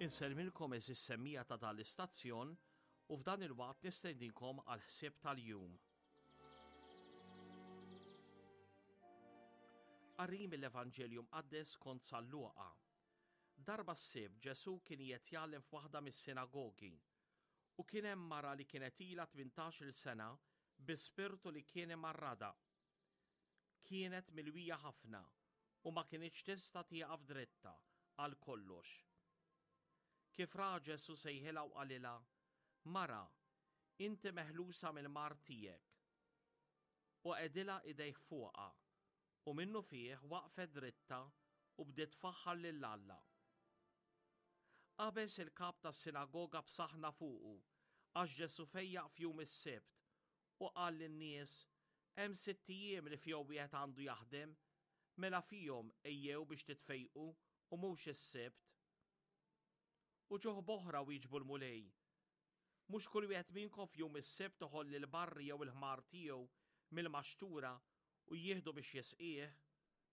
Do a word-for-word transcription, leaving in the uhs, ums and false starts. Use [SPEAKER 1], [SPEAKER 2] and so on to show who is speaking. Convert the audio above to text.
[SPEAKER 1] Insellmilkom għeżież semmiegħa ta' dan l-istazzjon u f'dan il-waqt nistedinkom għal ħsieb tal-jum. Qari mill-Evanġelju Mqaddes kont San Luqa. Darba s-Sibt Ġesù kien qiegħed jgħallem f'waħda mis-sinagogi u kien hemm mara li kienet ilha tmintax-il sena bi spirtu li kien imarradha. Kienet milwija ħafna u ma kinitx tista' tieqaf dritta għal kollox. Kif ra Ġesù sejħilha u qalilha, Mara, inti meħlusa mill-mard tiegħek. U qegħdilha idejh fuqha, u minnufih waqfet dritta u bdiet tfaħħar lil Alla. Qabeż il-kap tas-sinagoga b'saħna fuqu, għax Ġesù fejjaq f'jum is-Sibt, u qal lin-nies, Hemm sitt ijiem li fihom wieħed għandu jaħdem, mela fihom ejjew biex titfejqu u mhux is-Sibt. Uċuħ b'oħra wieġbu l-Mulej, Mhux kull wieħed minnkom f'jum is-Sibt iħoll il-barri jew il-ħmar tiegħu mill-maxtura u jieħdu biex jisqih?